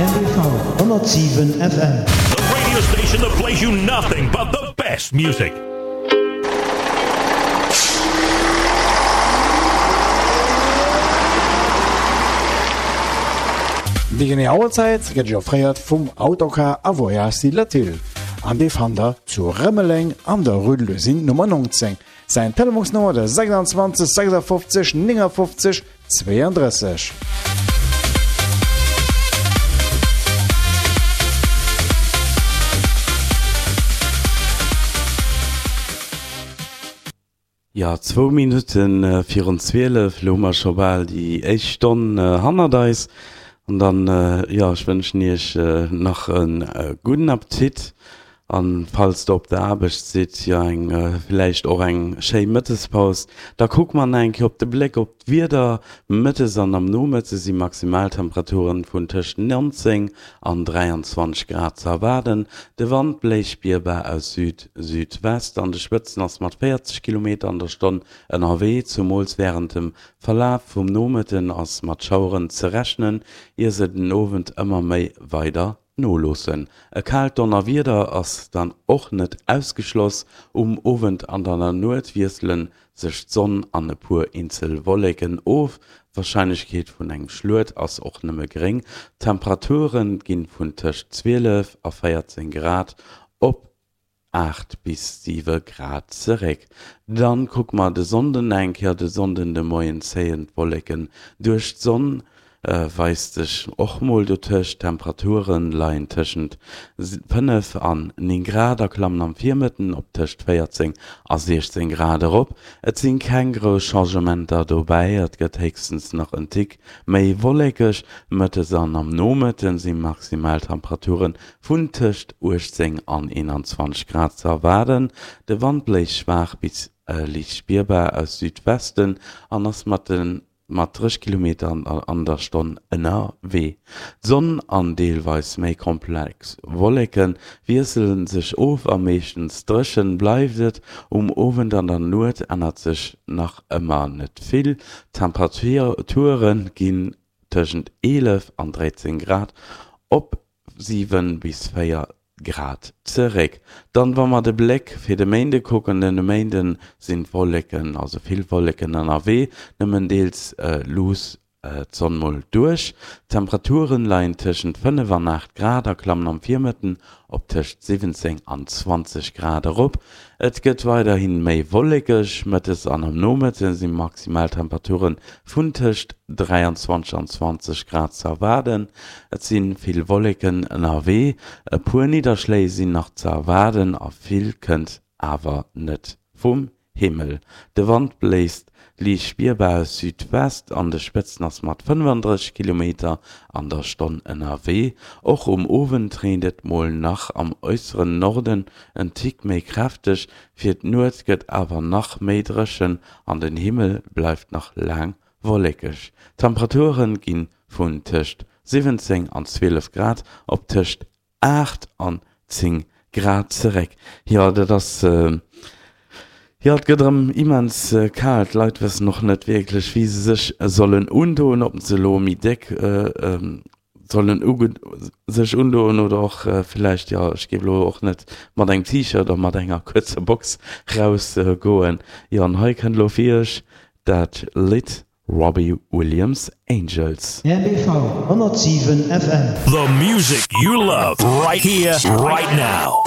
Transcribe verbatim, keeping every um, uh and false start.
R B V honnertsiwen F M. The radio station that plays you nothing but the best music. Déi genee Auerzäit gëtt Iech offréiert vum Autocar a Voyages Latil an dee fannt der zu Rëmeleng an der Rue de l'Usine Nummer neunzéng. Säin Telefonsnummer de sechsundzwanzeg sechsundfünfzig neunundfünfzig zweiunddrësseg. Jo, zwou Minutte virun zwielef, elo hu mer scho bal déi éischt Stonn hannert eis. An dann, jo, ech wënschen Iech nach e gudden Appetit an falls der op der Aarbecht sidd, jo, eng villäicht och eng schéi Mëttespaus. Da kucke mer nach eng Kéier op de Bléck op d'Wieder. Mëttes an am Nomëtte si Maximaltemperaturen vun tëscht neunzéng an dräianzwanzeg Grad ze erwaarden. De Wand bléist spierbar aus Süd-Südwest, an de Spëtzen ass mat véierzeg Kilometer an der Stonn ënnerwee. Zumools wärend dem Verlaf vum Nomëtten ass mat Schaueren ze rechnen, ier se den Owend ëmmer méi weider noloossen. E kaalt Donnerwieder ass dann och net ausgeschloss. Um Owend an an der Nuet wiessele sech d'Sonn an e puer eenzel Wolleken of, d'Warscheinlechkeet vun engem Schluet ass och nëmme geréng. D'Temperature gi vun tëscht zwielef a véierzéng Grad op aacht bis siwe Grad zeréck. Dann kucke mer de Sonnden eng Kéier. De Sonnden de Moien zéien d'Wolleken duerch, d'Sonn weist sech och mol dotëscht. D'Temperature leien tëschent fënnef an néng Grad a klammen am Virmëtten op tëscht véierzéng a siechzéng Grad erop. Et sinn keng grouss Changementer dobäi, et gëtt héchstens nach en Tick méi wollekeg. Mëttes an am Nomëtte si Maximaltemperature vun tëscht uechtzéng an eenanzwanzeg Grad ze erwaarden. De Wand bléist schwaach bis liicht spierbar aus Südwesten an ass mat de mat drësseg Kilometer an der Stonn ënnerwee. D'Sonn an deelweis méi komplex Wolleke wiessele sech of a meeschtens dréchen bleift et. Um Owend an der Nuet ännert sech nach ëmmer net vill, d'Temperature ginn tëschent eelef an dräizéng Grad op siwen bis véier Grad zeréck. Dann, wa mer de Bléck fir de Méinde kucken, Den Méinde sinn d'Wolleken, also vill Wolleken ënnerwee, nëmmen deels luuss d'Sonn mol duerch. D'Temperaturen leien tëschent fënnef an aacht Grad a klammen am Virmëtten op tëscht siwwenzéng an zwanzeg Grad erop. Et gëtt weiderhi méi wollekeg, mëttes an am Nomëtte si Maximaltemperature vun tëscht dräianzwanzeg an zwanzeg Grad ze erwaarden. Et si vill Wolleken ënnerwee, e puer Nidderschléi sinn nach ze erwaarden a vill kënnt awer net vum Himmel. De Wand bléist liicht spierbar aus Südwest, an de Spëtzen ass mat fënnefandrësseg Kilometer an der Stonn ënnerwee. Och um Owend reent et mol nach am äusseren Norden en Tick méi kräfteg, fir d'Nuet gëtt awer nach méi dréchen an den Himmel bleift nach laang wollekeg. D'Temperature gi vun tëscht siwwenzéng an zwielef Grad op tëscht aacht an zéng Grad zeréck. Jo, dat ass, jo, et gëtt erëm immens kal. D'Leit wëssen och net wierklech, wéi se sech sollen undoen, ob se elo méi déck sollen sech undoen oder och villäicht, jo, ech géif elo och net mat engem T-Shirt a mat enger kuerzer Box rausgoen. Jo, an hei kënnt elo fir iech dat Lidd Robbie Williams, Angels. R B V honnertsiwen F M. The music you love, right here, right now.